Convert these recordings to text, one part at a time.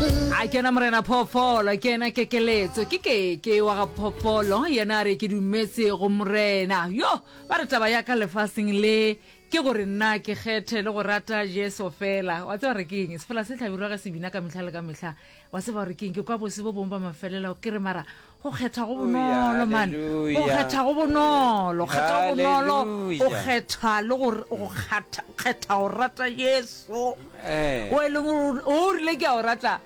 A kena morena phoofolo, ke yena kekeletso, ke keke wa ga phoofolo, yena a re ke dumetse go morena. Yo, ba re taba ya ka lefaseng le ke gore nna ke kgethe le go rata Jesu fela. Wa tseba re ke eng? Sefela se hlabirwa ge se bina ka mehla le ka mehla. Wa tseba gore ke eng? Ke kwa bose bo bongwe ba mafelelo ke re mara Go kgetha go bonolo man. Go kgetha go bonolo. Kgetha go bonolo. O kgetha le go go kgatha kgetha go rata Jesu. Eh. O e leng gore o rile ke a o rata.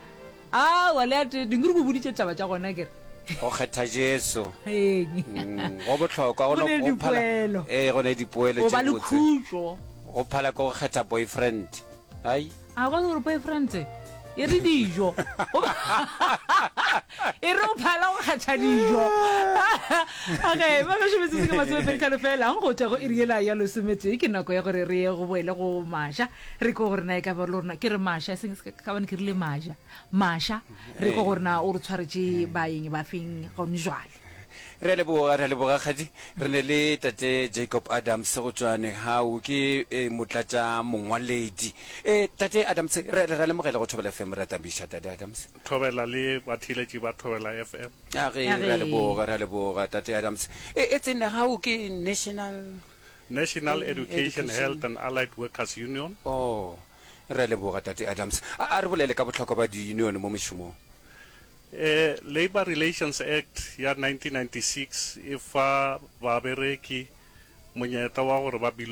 A wa le ate dingwe re go boditše taba tša gona ke re. Go kgetha Jesu. Mm, go bohlokwa go no go phala. Eh, go ne dipoelo tše botse. O ba le khutšo. Go phala ke go kgetha boyfriend. Ai. A kwa gore boyfriend e re dijo. E re o phala go kgetha dijo. Okay, ba gešo metsotso ke masomepeditlhano fela go tšwa go iri yela ya lesometee ke nako ya gore re ye go boele go Masha re kwe gore na e ka ba le rona ke re Masha e seng ka bane ke rile Maja Masha re kwe gore na o re tshwaretše baeng ba feng gone jwale. Re a leboga, re a leboga Kgadi. Re ne le Tate Jacob Adams go tšwa Nehau, ke eh, motlatša mongwaledi. Eh, Tate Adams, re re ra lemogela go Thobela FM, re a tamiša Tate Adams. Thobela le batheeletši ba Thobela FM. A ge, re a leboga, re a leboga Tate Adams. E, e tse Nehau ke National National Education, Health and Allied Workers Union. Oh, re a leboga Tate Adams. A, a re bolele ka bohlokwa ba di-union mo mešomong. Labour Relations Act ya 1996 e fa babereki monyetla wa gore ba.